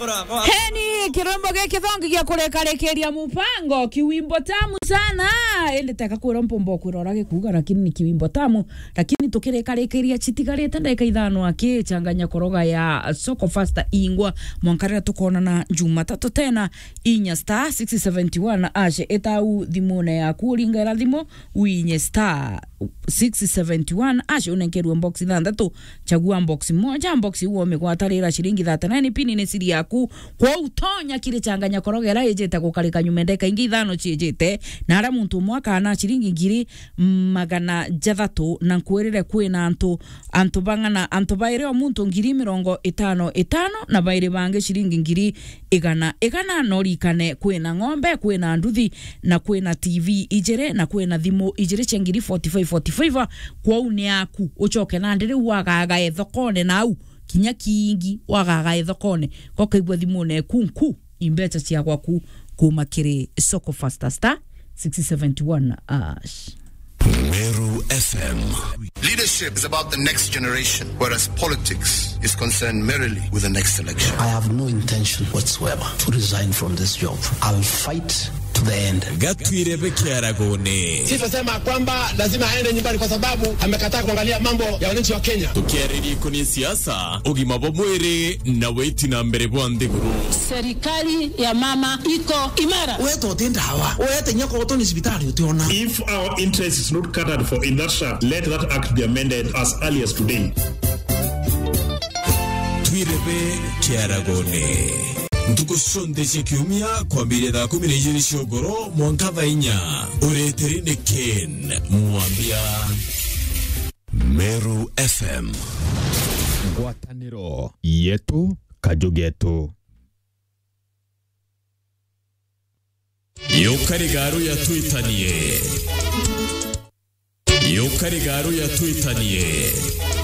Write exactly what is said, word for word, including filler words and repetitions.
Heni, kirombo giki thongi gia kurikarikiria mupango, kiwimbo tamu sana. Indi teka kwira mpumba kwira uria gikuuga, lakini ni kiwimbo tamu. Lakini tukirikarikiria, citigarite ndagika ithano aki, changanya koroga ya Soko Fasta ingwa, mwanka riria tukonana Jumatatu tena, inya star six seventy one hash, itau thimune yaku, uringaira thimu, winye star six seventy one hash, unenkerwe box ithanthatu, chagua box moja, box iu umigwatarira ciringi thirty nine, pin ni siri yaku. Kwou tonya kiri changanya koroga iria ijite gukarika nyuma ndeka ingi ithano ciijite, na aria muntu umwe akana ciringi ngiri magana jathatu, na nkwirire kwina antu, antu bang'ana, antu bairi o muntu ngiri mirongo itano itano, na bairi bangi ciringi ngiri igana igana. No rikane, kwina ng'ombe, kwina nduthi, na kwina T V ijiri, na kwina thimu ijiri cia ngiri forty five forty five. Kwou ni yaku, ucoke nandi riu wagagae thokone nau, kinya kingi wagagae thokone, gokaigua thimune eku nku, imbecha cia gwaku kuma kiri Soko Fasta star six seventy one hash. Meru F M. Leadership is about the next generation, whereas politics is concerned merely with the next election. I have no intention whatsoever to resign from this job. I'll fight to the end. Gatwire be kiaragone. Sisasema kwamba lazima aende nyumbani kwa sababu amekataa kuangalia mambo ya wananchi wa Kenya. Tukiariria ikoni siasa, ugima bwa mwiri na witi na mbere bwa nthiguru. Serikali ya mama iko imara. Weta uti ndawa, wete nya koto ni cibitari utiona. If our interest is not catered for in that shaft, let that act be amended as early as today. Twirebe kiaragone. Ntuku cionthe cia kiumia, kwambiria thaa kumi na ijiri cia ugoro mwanka thaa inya, ureteri ni Ken Mwambia. Meru F M. Ngwataniro yetu, kaju getu. Yukari garu ya twitanie. Yukari garu ya twitanie.